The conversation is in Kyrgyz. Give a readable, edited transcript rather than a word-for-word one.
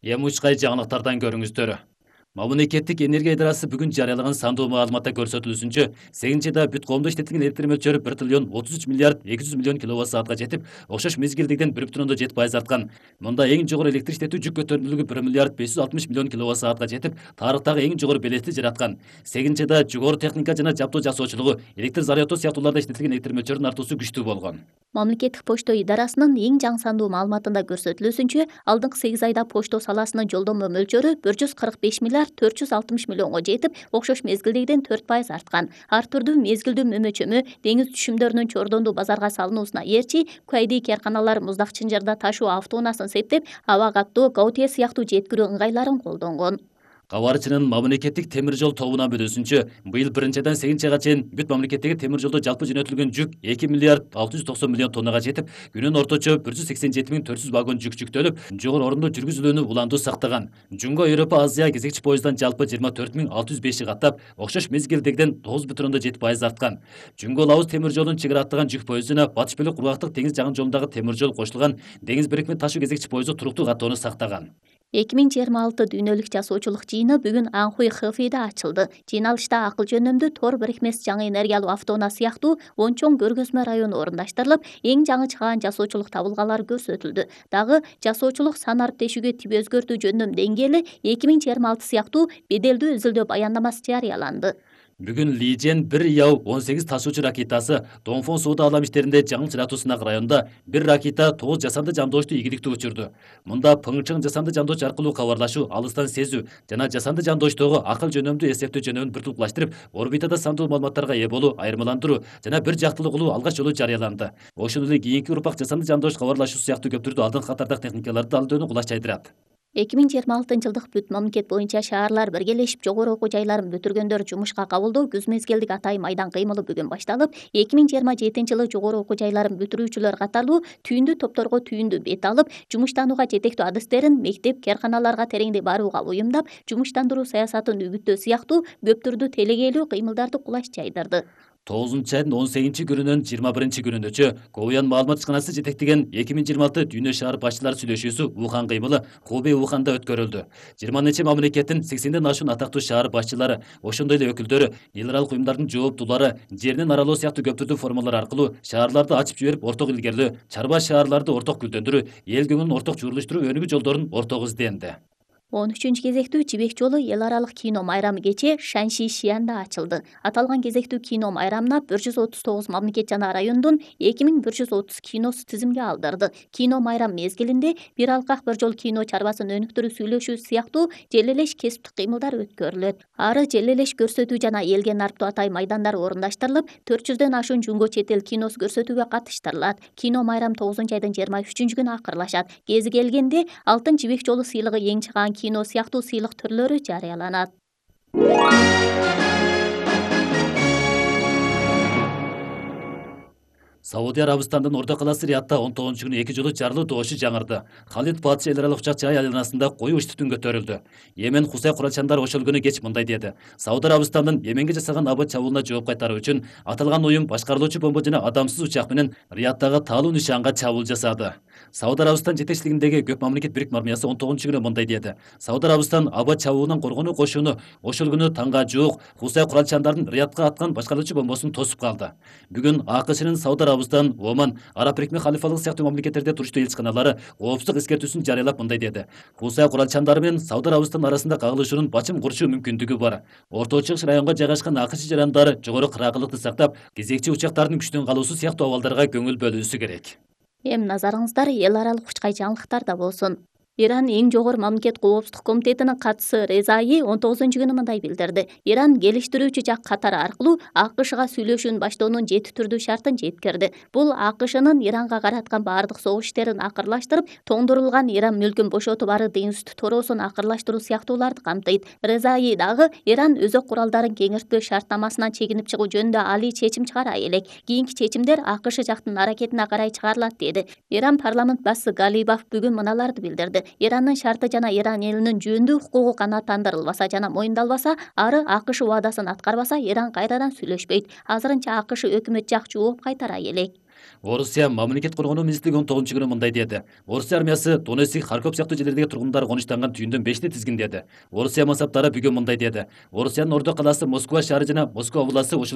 Эми учкай жаңылыктардан көрүңүздөр. Мамлекеттик энергия идарасы бүгүн жарыялаган сандуу маалыматта көрсөтүлүшүнчө, 8-айда бүт коомдо иштетилген электр мөлчөрү 1 триллион 33 миллиард 200 миллион киловатт саатка жетип, окшош мезгилдегиден 1,7% арткан. Мында эң жогору электр иштетүү жүк көтөрүмдүүлүгү 1 миллиард 560 миллион киловатт саатка жетип, тарыхтагы эң жогору белести жараткан. 8-айда жогору техника жана жабдуу жасоочулугу, электр зарядоо сыяктууларда иштетилген электр мөлчөрүнүн артуусу күчтүү болгон. Мамлекеттик почто идарасынын эң жаңы сандуу маалыматында көрсөтүлүшүнчө, алдыңкы 8 айда почто саласынын жолдомо мөлчөрү 145 миллиард 460 миллионго жетип, окшош мезгилдегиден 4% арткан. Ар түрдүү мезгилдүү мөмө-чөмө, деңиз түшүмдөрүнүн чордондуу базарга салынуусуна эрчи, Куайди карканалар муздак чынжырда ташуу автоунаасын септеп, аба каттоо, Гаутье сыяктуу жеткирүү ыңгайларын колдонгон. Кабарчынын мамлекеттик темир жол тобунан билүүсүнчө, быйыл 1-айдан 8-айга чейин бүт мамлекеттеги темир жолдо жалпы жөнөтүлгөн жүк 2 миллиард 690 миллион тоннага жетип, күнүнө орточо 187.400 вагон жүк жүктөлүп, жогору орунду жүргүзүлүүнү уландуу сактаган. Жунго Европа Азия кезекчи поезддан жалпы 24.605 каттап, окшош мезгилдегиден 9,7% арткан. Жунго Лаус темир жолунун чек ара аттаган жүк поездуна Батыш Бөлөк кургактык деңиз жагын жолундагы темир жол кошулган деңиз бирикме ташуу кезекчи поезду туруктуу каттоону сактаган. 2026 дүйнөлүк жасоочулук жыйыны бүгүн Анхуй Хэфейде ачылды. Жыйналышта акыл жөнөмдүү тор бирикмеси жаңы энергиялуу автоунаа сыяктуу 10 чоң көргөзмө району орундаштырылып, эң жаңы чыгаан жасоочулук табылгалары көрсөтүлдү. Дагы жасоочулук сан арт-тешүүгө тип өзгөртүү жөнүнөн деңгээли 2026 сыяктуу беделдүү изилдөө баяндамасы жарыяланды. Бүгүн Лижен 1 Яу 18 ташуучу ракетасы Донфон сууда алам иштеринде жаңы чыратуу сынак районунда бир ракета 9 жасанды жандоошту ийгиликтүү учурду. Мында Пыңчың жасанды жандооч аркылуу кабарлашуу, алыстан сезүү жана жасанды жандооштогу акыл жөнөмдүү эсептөө жөнөмүн биртупташтырып, орбитада сандуу маалыматтарга ээ болуу, айырмаландыруу жана бир жактылуу кылуу алгач жолу жарыяланды. Ошондой эле кийинки урпак жасанды жандооч кабарлашуу сыяктуу көп түрдүү алдыңкы катардагы техникаларды алууну кулач жайдырат. 2026 бүт мамлекет боюнча шаарлар биргелешип жогору окуу жайларын бүтүргөндөр жумушка кабылдоо күз мезгилдик атайын майдан кыймылы бүгүн башталып, 2027 жогору окуу жайларын бүтүрүүчүлөр катарлуу түйүндүү топторго түйүндүү бет алып, жумуштанууга жетектүү адыстерин мектеп, кээрканаларга тереңдей барууга уюмдап, жумуштандыруу саясатын үгүттөө сыяктуу көп түрдүү телегээлүү кыймылдарды кулаш жайдырды. 9-айдын 18 күнүнөн 21 күнүнөчө Коуян маалымат ишканасы жетектеген 2026 дүйнө шаар башчылар сүйлөшүүсү Ухан кыймылы Хубей Уханда өткөрүлдү. 20 нече мамлекеттин 80ден ашуун атактуу шаар башчылары, ошондой эле өкүлдөрү, эл аралык уюмдардын жооптуулары жеринен аралоо сыяктуу көп түрдүү формалар аркылуу шаарларды ачып жиберип орток илгерилөө, чарба шаарларды орток гүлдөндүрүү, эл көңүлүн орток чуурлуштуруу өнүгүү жолдорун орток изденди. 13 кезектүү Жибек жолу эл аралык кино майрамы кечээ Шанши Шиянда ачылды. Аталган кезектүү кино майрамына 139 мамлекет жана райондун 2130 киносу тизимге алдырды. Кино майрам мезгилинде бир алкак бир жол кино чарбасын өнүктүрүү сүйлөшүү сыяктуу желелеш кесиптик кыймылдар өткөрүлөт. Ары желелеш көрсөтүү жана элге нарптуу атайын майдандар орундаштырылып, 400ден ашуун жунго чет эл киносу көрсөтүүгө катыштырылат. Кино майрам 9-айдын 23-күнү акырлашат. Кези келгенде Алтын жибек жолу сыйлыгы эң чыгаан кино сыяктуу сыйлык түрлөрү жарыяланат. Сауди Арабистандын Ордо калаасы Риядда 19-күнү 2 жолу жарылуу добушу жаңырды. Халид Патша эл аралык учак жай айланасында коюу үстүн көтөрүлдү. Йемен Хусай куралчандар ошол күнү кеч мындай деди: Сауди Арабистандын Йеменге жасаган аба чабуулуна жооп кайтаруу үчүн аталган уюм башкарылуучу бомба жана адамсыз учак менен Рияддагы таалуу нишанга чабуул жасады. Сауди Арабистан жетекчилигиндеги көп мамлекет бирикме армиясы 19-күнү мындай деди: Сауди Арабистан аба чабуулунан коргонуу кошууну ошол күнү таңга жуук Хусай куралчандардын Риядга аткан башкаруучу бомбосун тосуп калды. Бүгүн АКШнын Сауди Арабистан, Оман, Араб Бирикме халифалыгы сыяктуу мамлекеттерде туруштуу элчиканалары коопсуздук эскертүүсүн жарыялап мындай деди: Хусай куралчандары менен Сауди Арабистан арасында кагылышуунун бачым курушуу мүмкүндүгү бар. Орто Чыгыш районго жайгашкан АКШ жарандары жогору кыраагылыкты сактап, кезекчи учактардын күчтөн калуусу сыяктуу абалдарга көңүл бөлүүсү керек. Эми назарыңыздар эл аралык учкай жаңылыктарда болсун. Иран эң жогору мамлекет коопсуздук комитетинин катчысы Резаи 19-күнү мындай билдирди. Иран келиштирүүчү жак Катар аркылуу АКШга сүйлөшүүнү баштоонун 7 түрдүү шартын жеткирди. Бул АКШнын Иранга караткан баардык согуш иштерин акырлаштырып, тоңдурулган Иран мүлкүн бошотуп, ары деңиз үстү тороосун акырлаштыруу сыяктууларды камтыйт. Резаи дагы Иран өзөк куралдарын кеңиртпөө шарттамасынан чегинип чыгуу жөнүндө алий чечим чыгара элек. Кийинки чечимдер АКШ жактын аракетине карай чыгарылат деди. Иран парламент башчысы Галибаф бүгүн мыналарды билдирди. Ирандын шарты жана Иран элинин жүүндүү укугу канааттандырылбаса жана моюндалбаса, ары АКШ убадасын аткарбаса, Иран кайрадан сүйлөшпөйт. Азырынча АКШ өкмөт жак жооп кайтара элек. Орусия мамлекет коргонуу министрлиги 19-күнү мындай деди. Орусия армиясы Донецк, Харьков сыяктуу жерлердеги тургундар конуштанган түйүндөн 5-ти тизгиндеди. Орусия мансаптары бүгүн мындай деди. Орусиянын Ордо калаасы, Москва шаары жана Москва областы